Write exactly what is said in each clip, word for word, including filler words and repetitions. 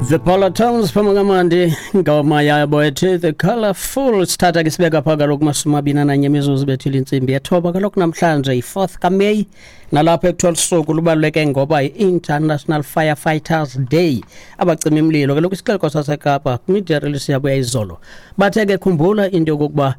The Parlotones phuma kamandi ngoma yabo ethi The Colourful. Sithatha ke sibeka phaa kaloku mashumi amabini ananye imizuzu bethile intsimbi yethoba. Kaloku namhlanje yi-fourth kaMeyi, nalapho ekuthiwa lusuku lubaluleke ngoba yi-International Firefighters Day, abacima imililo. Kaloku isixeko saseKapa kwi-media release yabo yayizolo bathe ke khumbula into yokokuba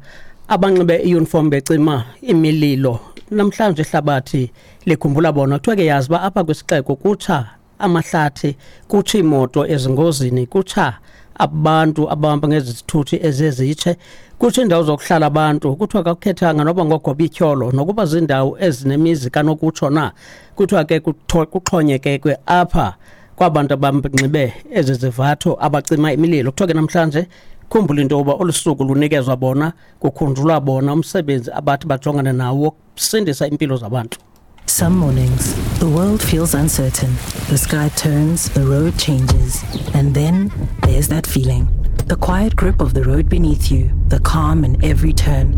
abanxibe i-uniform becima imililo namhlanje ihlabathi likhumbula bona. Kuthiwa ke yazi uba apha kwisixeko kutsha amahlathi, kutsha iimoto ezingozini, kutsha abantu abahamba ngezithuthi ezezitshe, kutsho iindawo zokuhlala abantu. Kuthiwa kakukhethanga noba ngogoba ityholo nokuba ziindawo ezinemizi kanokutsho na. Kuthiwa ke kuxhonyekekwe apha kwabantu abanxibe ezi zivatho abacima imililo. Kuthiwa ke namhlanje khumbula into yokuba olu suku lunikezwa bona, kukhunjulwa bona, umsebenzi abathi bajongane nawo wokusindisa iimpilo zabantu. Some mornings, the world feels uncertain. The sky turns, the road changes, and then there's that feeling. The quiet grip of the road beneath you, the calm in every turn.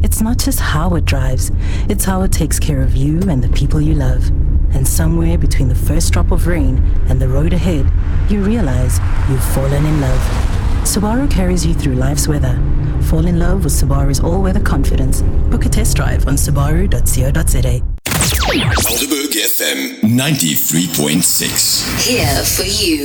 It's not just how it drives, it's how it takes care of you and the people you love. And somewhere between the first drop of rain and the road ahead, you realize you've fallen in love. Subaru carries you through life's weather. Fall in love with Subaru's all-weather confidence. Book a test drive on subaru dot co dot za. Helderberg F M ninety-three point six. Here for you.